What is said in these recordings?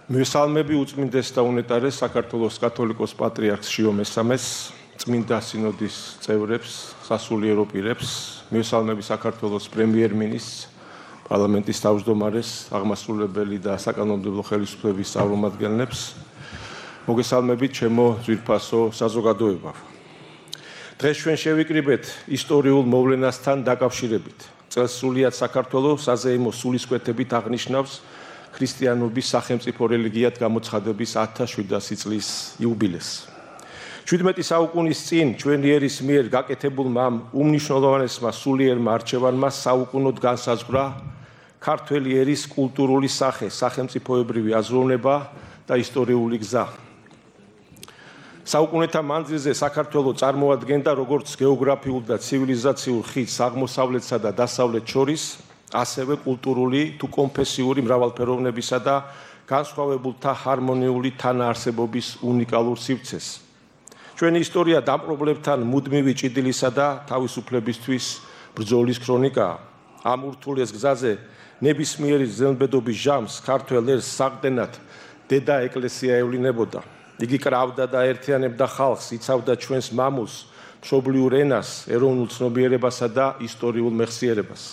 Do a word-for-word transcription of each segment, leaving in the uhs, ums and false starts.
მესალმები უწმინდეს და უნეტარეს საქართველოს კათოლიკოს პატრიარქს შიო მესამეს, წმინდა სინოდის წევრებს, სასულიერო პირებს, მესალმები საქართველოს პრემიერ-მინისტრს, პარლამენტის თავმჯდომარეს, აღმასრულებელი და საკანონმდებლო ხელისუფლების წარმომადგენლებს, მოგესალმებით ჩემო ძვირფასო საზოგადოება. დღეს ჩვენ შევიკრიბეთ ისტორიულ მოვლენასთან დაკავშირებით. წელს სრულიად საქართველოს საზეიმო სულისკვეთებით აღნიშნავს ქრისტიანობის სახელმწიფო რელიგიად გამოცხადების ათას შვიდასი წლის იუბილეს. შვიდმეტი საუკუნის წინ ჩვენი ერის მიერ გაკეთებულმა ამ უმნიშვნელოვანესმა სულიერმა არჩევანმა საუკუნოდ განსაზღვრა ქართველი ერის კულტურული სახე, სახელმწიფოებრივი აზროვნება და ისტორიული გზა. საუკუნეთა მანძილზე საქართველო წარმოადგენდა როგორც გეოგრაფიულ და ცივილიზაციურ ხიდს აღმოსავლეთსა და დასავლეთ შორის, ასევე კულტურული თუ კონფესიური მრავალფეროვნებისა და განსხვავებულთა ჰარმონიული თანაარსებობის უნიკალურ სივრცეს. ჩვენი ისტორია დამპყრობლებთან მუდმივი ჭიდილისა და თავისუფლებისთვის ბრძოლის ქრონიკაა. ამ ურთულეს გზაზე ნებისმიერი ზემბედობის ჟამს ქართველ ერს საყრდენად დედა ეკლესია ევლინებოდა. იგი კრავდა და ერთიანებდა ხალხს, იცავდა ჩვენს მამულს, მშობლიურ ენას, ეროვნულ ცნობიერებასა და ისტორიულ მეხსიერებას.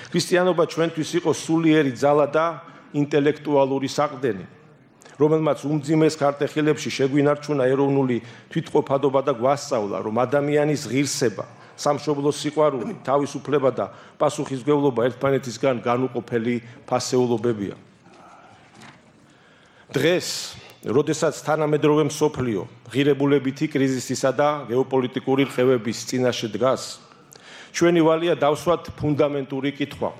ქრისტიანობა ჩვენთვის იყო სულიერი ძალა და ინტელექტუალური საყრდენი, რომელმაც უმძიმეს ქარტეხილებში შეგვინარჩუნა ეროვნული თვითყოფადობა და გვასწავლა, რომ ადამიანის ღირსება, სამშობლოს სიყვარული, თავისუფლება და პასუხისმგებლობა ერთმანეთისგან განუყოფელი ფასეულობებია. დღეს, როდესაც თანამედროვე მსოფლიო ღირებულებითი კრიზისისა და გეოპოლიტიკური რყევების წინაშე დგას, ჩვენი ვალია დავსვათ ფუნდამენტური კითხვა.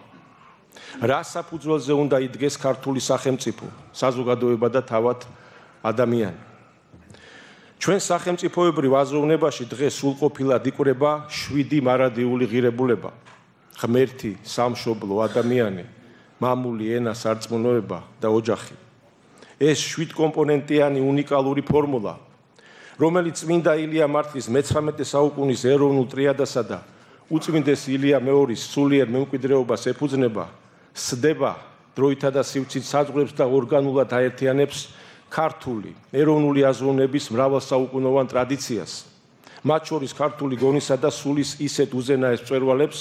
რა საფუძველზე უნდა იდგეს ქართული სახელმწიფო, საზოგადოება და თავად ადამიანი? ჩვენ სახელმწიფოებრივ აზროვნებაში დღეს სრულყოფილად იკვრება შვიდი მარადიული ღირებულება: ღმერთი, სამშობლო, ადამიანი, მამული, ენა, სარწმუნოება და ოჯახი. ეს შვიდკომპონენტიანი უნიკალური ფორმულა, რომელიც წმინდა ილია მართლის მეცხრამეტე საუკუნის ეროვნულ ტრიადასა და უწმინდეს ილია მეორის სულიერ მემკვიდრეობას ეფუძნება, სდება დროითა და სივრცით საზღვრებს და ორგანულად აერთიანებს ქართული ეროვნული აზროვნების მრავალსაუკუნოვან ტრადიციას, მათ შორის ქართული გონისა და სულის ისეთ უზენაეს მწვერვალებს,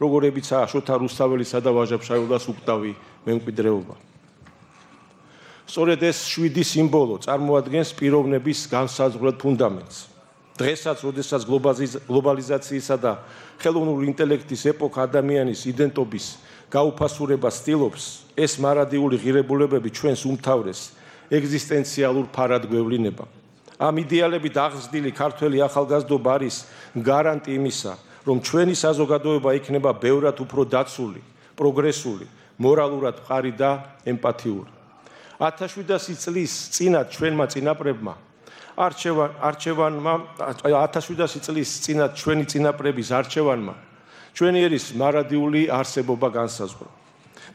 როგორებიცაა შოთა რუსთაველისა და ვაჟა-ფშაველას უკტავი მემკვიდრეობა. სწორედ ეს შვიდი სიმბოლო წარმოადგენს პიროვნების განსაზღვრელ ფუნდამენტს. დღესაც, როდესაც გლობალიზაციისა და ხელოვნური ინტელექტის ეპოქა ადამიანის იდენტობის გაუფასურებას ცდილობს, ეს მარადიული ღირებულებები ჩვენს უმთავრეს ეგზისტენციალურ ფარად გვევლინება. ამ იდეალებით აღზრდილი ქართველი ახალგაზრდობა არის გარანტი იმისა, რომ ჩვენი საზოგადოება იქნება ბევრად უფრო დაცული, პროგრესული, მორალურად მყარი და ემპათიური. ათას შვიდასი წლის წინათ ჩვენმა წინაპრებმა არჩევან არჩევანმა ათას შვიდასი წლის წინათ ჩვენი წინაპრების არჩევანმა ჩვენი ერის მარადიული არსებობა განსაზღვრა.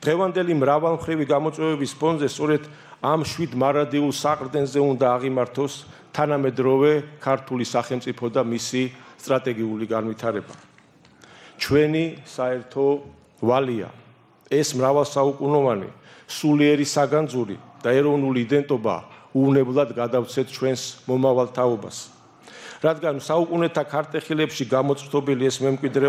დღევანდელი მრავალმხრივი გამოწვევების ფონზე სწორედ ამ შვიდ მარადიულ საყრდენზე უნდა აღიმართოს თანამედროვე ქართული სახელმწიფო და მისი სტრატეგიული განვითარება. ჩვენი საერთო ვალია ეს მრავალსაუკუნოვანი სულიერი საგანძური და ეროვნული იდენტობა უვნებლად გადავცეთ ჩვენს მომავალ თაობას. რადგან საუკუნეთა ქარტეხილებში გამოწვდობილი ეს მემკვიდრეობა